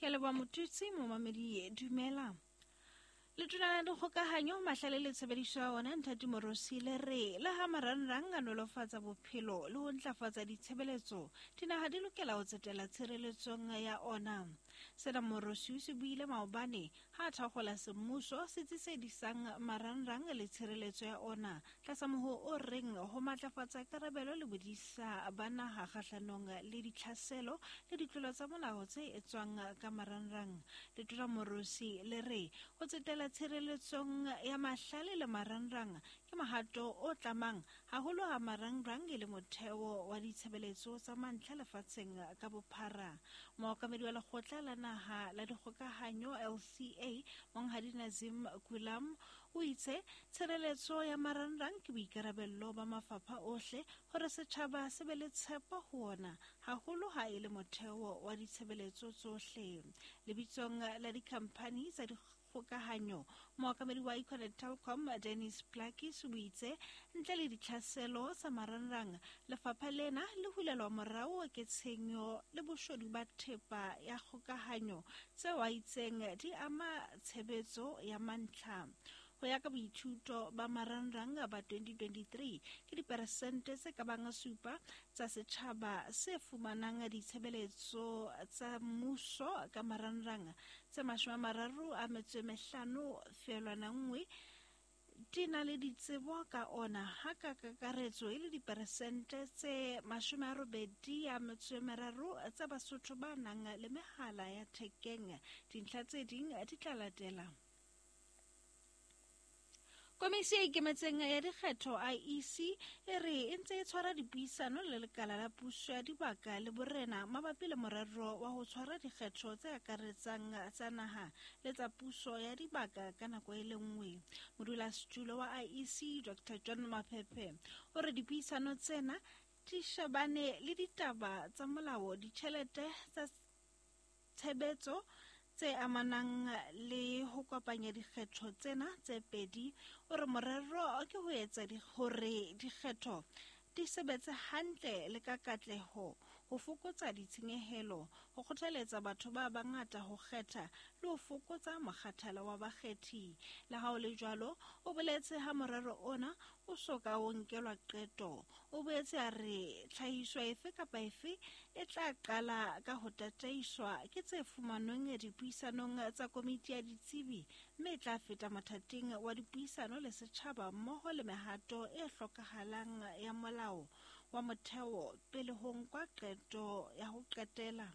Ke a leboha Motutsi, momamedi dumela. Letona la dikgokahanyo, mahlale le tshebediso ya ona Nthati Morosi le re le ha marangrang a nolofatsa bophelo le ho ntlafatsa ditshebeletso, dinaha di lokela ho tsetela tshireletsong ya ona. Sena Morosi o se buile maobane ha a thakgola semmuso setsi se disang marangrang le tshireletso ya ona tlasa moho o reng ho matlafatsa karabelo le bodisa ba naha kgahlanong le ditlhaselo le ditlolo tsa molao tse etswang ka marangrang. Letona Morosi le re ho tsetela tshireletsong ya mahlale le marangrang ke mohato o tlamang haholo ha marangrang e le motheo wa ditshebeletso tsa mantlha lefatsheng ka bophara. Mookamedi wa lekgotla la naha la dikgokahanyo LCA, Monghadi Nazim Gulam, o itse tshireletso ya marangrang ke boikarabello ba mafapha ohle hore setjhaba se be le tshepo ho ona, haholo ha e le motheo wa ditshebeletso tsohle. Lebitsong la dikhamphani tsa dikgokahanyo, mookamedi wa Econet Telkom Dennis Plakis o itse ntle le ditlhaselo tsa marangrang, lefapha lena le hulelwa morao ke tshenyo le boshodu ba thepa ya kgokahanyo tseo a itseng di ama tshebetso ya mantlha. Ho ya ka boithuto ba marangrang ba 2023, ke diperesente tse ka bang supa tsa setjhaba se fumanang ditshebeletso tsa mmuso ka marangrang, tse 35.1 di na le ditsebo ka ona, ha ka kakaretso e le diperesente tse 83 tsa Basotho ba nang le mehala ya thekeng. Dintlha tse ding di tla latela. Komisi e ikemetseng ya dikgetho IEC e re e ntse e tshwara dipuisano le lekala la puso ya dibaka le borena mabapi le morero wa ho tshwara dikgetho tse akaretsang tsa naha le tsa puso ya dibaka ka nako e le nngwe. Modulasetulo wa IEC Dr. John Maphephe o re dipuisano tsena di shebane le ditaba tsa molao, ditjhelete tsa tshebetso tse amanang le ho kopanya dikgetho tsena tse pedi. O re morero ke ho etsa hore dikgetho di sebetse hantle le ka katleho, ho fokotsa ditshenyehelo, ho kgothaletsa batho ba bangata ho kgetha le ho fokotsa mokgathala wa bakgethi. Le ha ho le jwalo, o boletse ha morero ona o so ka o nkelwa qeto. O boetse a re tlhahiso efe kapa efe e tla qala ka ho tataiswa ke tse fumanweng dipuisanong tsa komiti ya ditsebi mme e tla feta mothating wa dipuisano le setjhaba mmoho le mehato e hlokahalang ya molao wa motheo pele ho nkwa qeto ya ho qetela.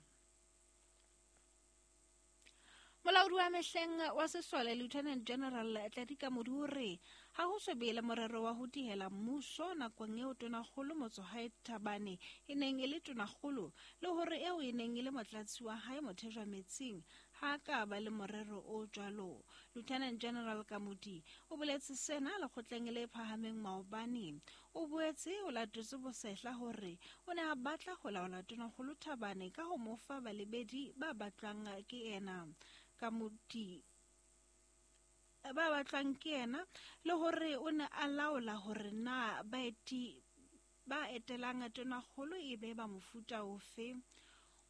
Molaodi wa mehleng wa sesole Lieutenant General Tladi Kamodi o re ha ho so be le morero wa ho dihela mmuso nakong eo tonakgolo Motsohae Thabane e neng e le tonakgolo le hore eo e neng e le motlatsi wa hae Mothejwa Metsing ha a ka ba le morero o jwalo. Lieutenant General Kamodi o boletse sena lekgotleng le phahameng maobane. O boetse o latotse bosehla hore o ne a batla ho laola Tonakgolo Thabane ka ho mo fa balebedi ba batlwang ke yena. Kamodi ba batlwang ke yena le hore o ne a laola hore na baeti ba etelang Tonakgolo e be ba mofuta ofe.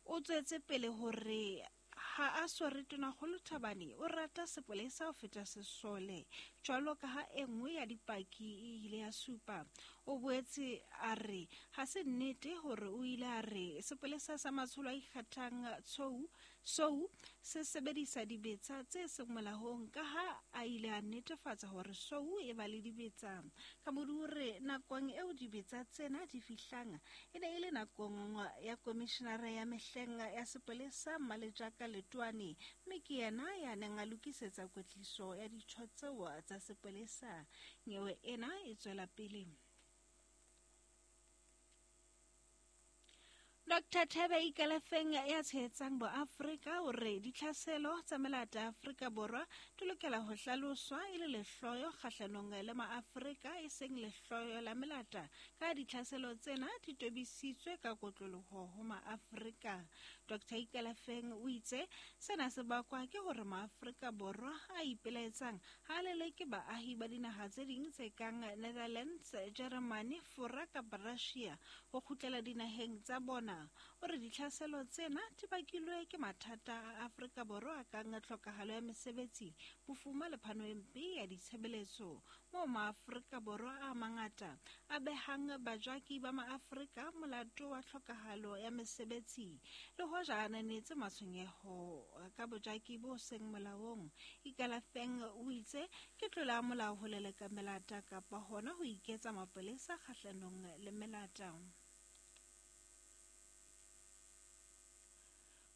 O tswetse pele hore ha a swere Tonakgolo Thabane o rata sepolesa ho feta sesole, jwalo ka ha e nngwe ya dipaki e ile ya supa. O boetse a re ha se nnete hore o ile a re sepolesa sa matsholo a ikgethang Tshou Sou se sebedisa dibetsa tse seng molaong, ka ha a ile a netefatsa hore Sou e ba le dibetsa. Kamodi o re nakong eo dibetsa tsena di fihlang e ne e le nakong ya komishinara ya mehleng ya sepolesa Mmalejaka Letoane, mme ke yena ya neng a lokisetsa kwetliso ya ditho tseo tsa sepolesa. Nyewe ena e tswela pele. Dr. Thebe Ikalafeng ya tshehetsang boAfrika o re ditlhaselo tsa melata Afrika Borwa di lokela ho hlaloswa e le lehloyo kgahlanong le maAfrika e seng lehloyo la melata, ka ditlhaselo tsena di tobisitswe ka kotloloho ho maAfrika. Dr. Ikalafeng o itse sena se bakwa ke hore maAfrika Borwa a ipelaetsang ha a leleke baahi ba dinaha tse ding tse kang Netherlands, Germany, Fora kapa Russia ho kgutlela dinaheng tsa bona. O re ditlhaselo tsena di bakilwe ke mathata a Afrika Borwa a kang tlhokahalo ya mesebetsi, bofuma le phano e mpe ya ditshebeletso, moo maAfrika Borwa a mangata a behang bajaki ba maAfrika molato wa tlhokahalo ya mesebetsi. Le hoja a ananetse matshwenyeho ka bojaki bo seng molaong, Ikalafeng o itse ke tlolo ya molao ho leleka melata kapa hona ho iketsa mapolesa kgahlanong le melata.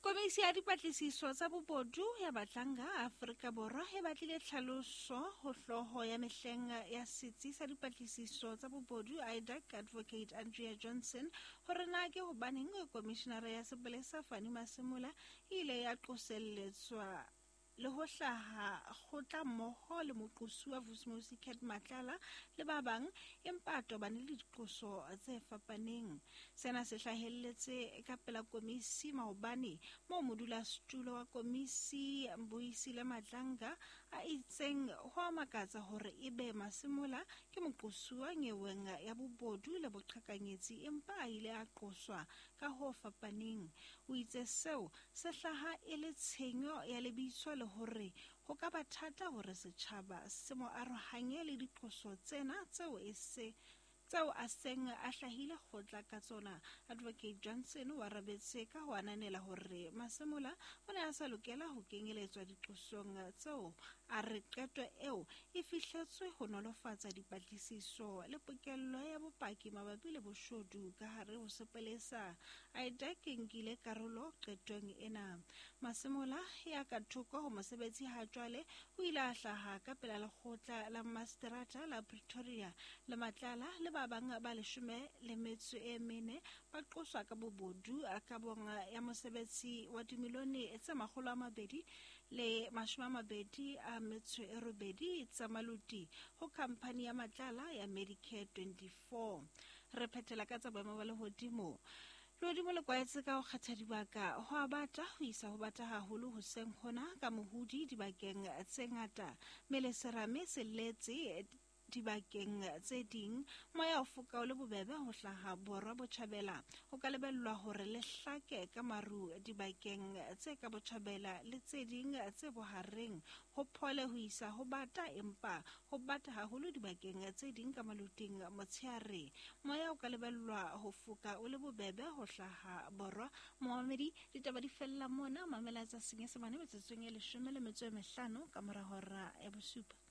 Komisi ya dipatlisiso tsa bobodu ya Batlanga Afrika Borwa e batlile tlhaloso ho hlooho ya mehleng ya setsi sa dipatlisiso tsa bobodu IDAC Advocate Andrea Johnson hore na ke hobaneng komishinara ya sepolesa Fannie Masemola e ile ya qoselletswa le ho hlaha kgotla mmoho le moqosuwa Vusimuzi Cat Matlala le ba bang, empa a tobane le diqoso tse fapaneng. Sena se hlahelletse ka pela komisi maobane moo modulasetulo wa komisi Mbuyisile Madlanga a itseng ho a makatsa hore ebe Masemola ke moqosuwa nyeweng ya bobodu le boqhekanyetsi empa a ile a qoswa ka ho fapaneng. O itse seo se hlaha e le tshenyo ya lebitso le hore ho ka ba thata hore setjhaba se mo arohanye le diqoso tsena tseo e se tseo a seng a hlahile kgotla ka tsona. Advocate Johnson o arabetse ka ho ananela hore Masemola o ne a sa lokela ho kenyeletswa diqosong tseo. A re qeto eo e fihletswe ho nolofatsa dipatlisiso le pokello ya bopaki mabapi le boshodu ka hare ho sepolesa. IDAC e nkile karolo qetong ena. Masemola ya ka thoko ho mosebetsi ha jwale o ile a hlaha ka pela lekgotla la maseterata la Pretoria le Matlala le ba bang ba 14 ba qoswa ka bobodu kabong ya mosebetsi wa dimilione tse 228 tsa maluti ho khamphani ya Matlala ya Medicare 24. Re phethela ka tsa boemo ba lehodimo. Lehodimo le kwaetse ka ho kgetha dibaka ho a bata ho isa ho bata haholo hoseng hona ka mohudi dibakeng tse ngata, mme le serame se letse dibakeng tse ding. Moya o foka o le bobebe ho hlaha borwa botjhabela. Ho ka lebellwa hore le hlake ka maru dibakeng tse ka botjhabela le tse ding tse bohareng. Ho phole ho isa ho bata empa ho bata haholo dibakeng tse ding ka maluting motshehare. Moya o ka lebellwa ho foka o le bobebe ho hlaha borwa. Momamedi, ditaba di fella mona. Mamela tsa Senyesemane metsotsong e 15 ka mora hora ya 7.